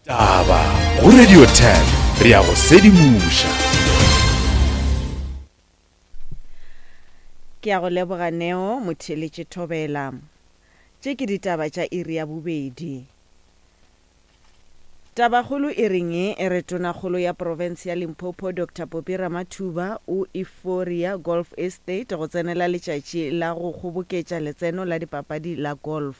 Taba go Radio 10 re a go sedimoša. Ke a go leboga Neo Motheeletše Thobela. Tše ke ditaba tša iri ya bobedi. Tabakgolo e reng? E re Tonakgolo ya profense ya Limpopo Doctor Poppy Ramathuba o Euphoria Golf Estate go tsenela letšatši la go kgoboketša letseno la dipapadi la golf.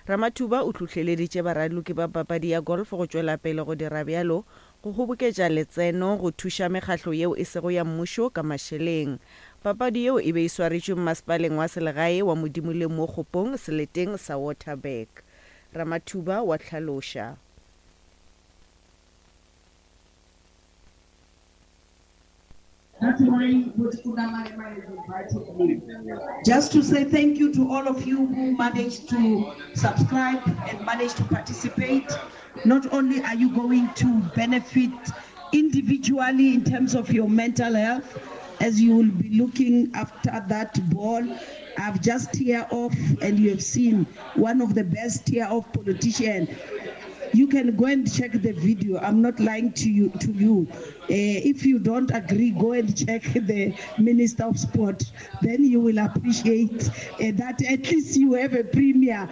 Ramathuba o hlohleleditše baraloki ba papadi ya golf go tšwela pele go dira bjalo go kgoboketša letseno go thuša mekgahlo yeo e sego ya mmušo ka mašeleng. Papadi yeo e be e swaretšwe mmasepaleng wa selegae wa Modimoleng mo Kgopong seleteng sa Waterberg. Ramathuba wa hlaloša. That's why Tuna Maema has invited me. Just to say thank you to all of you who managed to subscribe and managed to participate. Not only are you going to benefit individually in terms of your mental health, as you will be looking after that ball. I've just tear off, and you have seen one of the best tear off politician. You can go and check the video. I'm not lying to you. To you, if you don't agree, go and check the Minister of Sport. Then you will appreciate that at least you have a premier.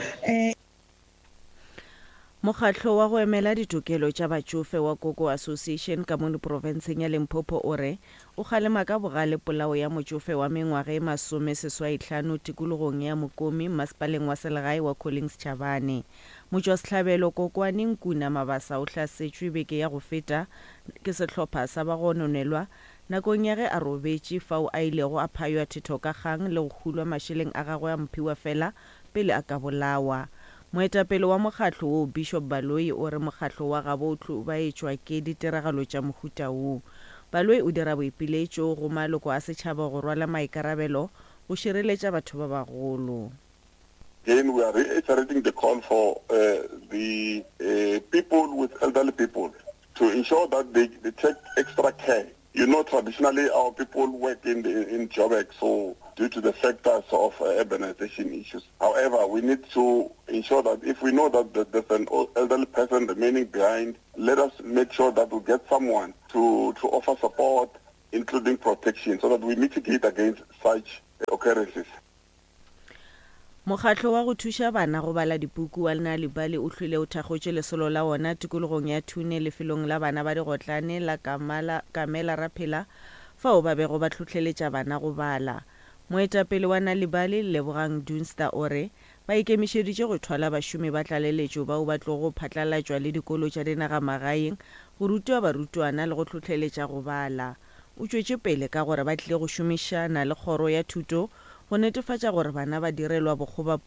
Mokgatlo wa go emela ditokelo tša batšofe wa Koko Association ka mono profenseng ya Limpopo o re o kgalema ka bogale polao ya motšofe wa mengwaga e masomeseswaihlano tikologong ya Mokomi mmasepaleng wa selegae wa Collins Chabane. Motšwasehlabelo Kokwane Nkuna Mabasa o hlasetšwe beke ya go feta ke sehlopha sa bagononelwa nakong ya ge a robetše fao a ilego a phaywa thetho ka kgang le go hulwa mašeleng a gagwe a mphiwafela pele a ka bolawa. Moetapele wa mokgatlo wo, Bishop Baloyi o re mokgatlo wa gabo o hlobaetšwa ke ditiragalo tša mohuta wo. Baloyi o dira boipiletšo go maloko a setšhaba go rwala maikarabelo go šireletša batho ba bagolo. Again, we are reiterating the call for uh, the uh, people with elderly people to ensure that they, they take extra care. You know, traditionally our people work in, the, in Joburg, so due to the factors of uh, urbanization issues. However, we need to ensure that if we know that there's an elderly person remaining behind, let us make sure that we get someone to, to offer support, including protection, so that we mitigate against such occurrences. Mokgatlo wa go thuša bana go bala dipuku wa Nal'ibali o hlwile o thakgotše lesolo la wona tikologong ya Thune lefelong la bana ba digotlane la Kamala, Kamela Raphela fao ba bego ba hlohleletša bana go bala. Moetapele wa Nal'ibali, Lebogang Dunster o re ba ikemišeditše go thwala bašomi ba tlaleletšo bao ba tlogo phatlalatšwa le dikolo tša dinagamagaeng go ruta barutwana le go hlohleletša go bala. O tšwetše pele ka gore ba tlile go šomišana le kgoro ya thuto go netefatša gore bana ba direlwa bokgobapuku.